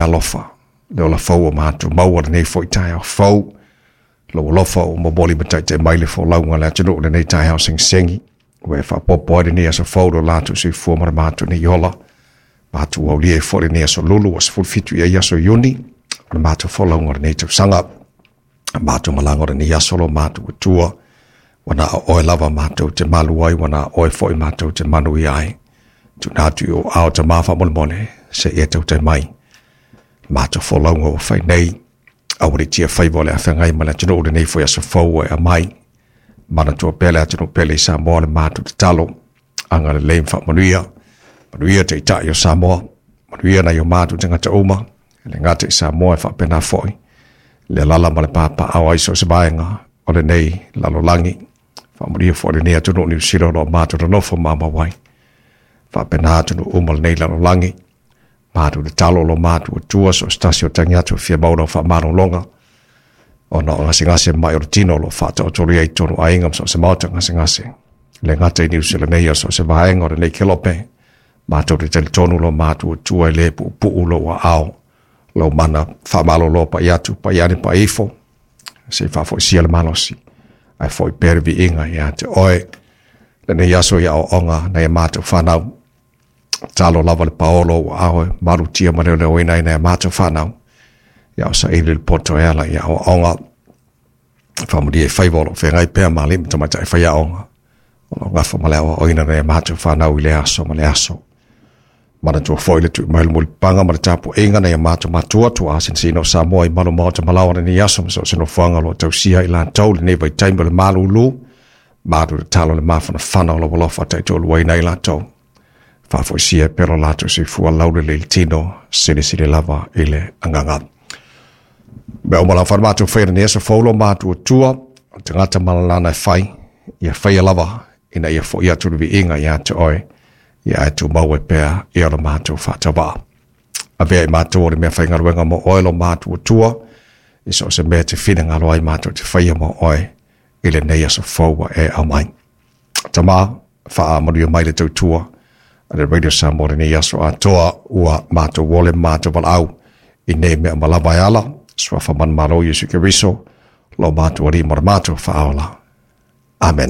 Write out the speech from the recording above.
alofa, le ola fou o matou maua lenei foi taeao fou, lou alofa ua momoli ma taitai mai le folauga a le atunuu i lenei taeao segisegi, ua e faaopoopo ai lenei aso fou i lo latou soifua ma le matou nei ola. Matou aulia ai foi lenei aso lulu ua 17 i ai aso Iuni o le matou folauga o lenei tausaga. Matou malaga o lenei aso lo matou Atua, ua na o oe lava matou te malu ai, ua na o oe foi matou te manuia ai. Tuuina atu i ou ao Tama faamolemole, se i e tautai mai. Matou folauga ua fai nei, aua ne i tia faiva o le a feagai ma le atunuu i lenei foi aso fou ua e aumai. Manatua pea le atunuu pele i Samoa le matou tatalo, agalelei ma faamanuia, manuia Taitai o Samoa, manuia nai o matou tagata uma, e le gata i Samoa e faapena foi le alala ma le papaaao ai so o se vaega o lenei lalolagi. Faamanuia foi lenei atunuu Niu Sila o lo o matou nonofo maumau ai. Faapena atunuu uma o lenei lalolagi. Matou tatalo lo matou Atua so o se tasi o tagi atu e fia maua lau faamalologa ona o gasegase mai o le tino o lo o faataotolia i totonu o aiga ma so o se maota gasegase. Le gata i Niu Sila nei o so o se vaega o lenei kelope, matou te talitonu lo matou Atua e le puupuu lou aao, lou mana faamalolo pai atu, pai ane pai ifo, se i faafoisia le malosi, ae foi pea le viiga ia te oe. Lenei aso i aoaoga nai a matou fanau, talo lava le paolo ua ao e malutia ma leoleoina ai nai a matou fanau, ia o saili le poto e ala i aoaoga, faamanuia i faiva o lo o feagai pea ma alii ma tamaitai faiaoga, o lo o gafa ma le aoaoina nai a matou fanau i lea aso ma lea aso. Manatua foi le tui mai le mulipapaga ma le tapuaiga nai a matou matua tuaa sinosino o Samoa i malu maota malaoa lenei aso ma so o se nofoaga o lo o tausia i latou lenei vaitaimi o le malulu, malu tatalo le mafanafana o lou alofa taitoaluaina ai latou. Faafoisia pea lo latou soifua laulelei i le tino, silisili lava i le agaga. Mea uma lava matou faia lenei aso fou lo matou Atua, o le tagata ma lana e fai, ia faia lava ina ia foi atu le viiga ia te oe, ia ae tumau ai pea ia lo matou faatauvaa. Avea i matou o le mea faigaluega mo oe lo matou Atua, i so o se mea e te finagalo ai matou te faia mo oe i lenei aso fou ua e aumai. Tama, faamanuia mai le tautua a le Radio Samoa lenei aso atoa ua matou ole ma matou valaau i nei mea uma lava e ala, suafa manumalo Iesu Keriso, lo matou Alii ma le matou Faaola. Amene.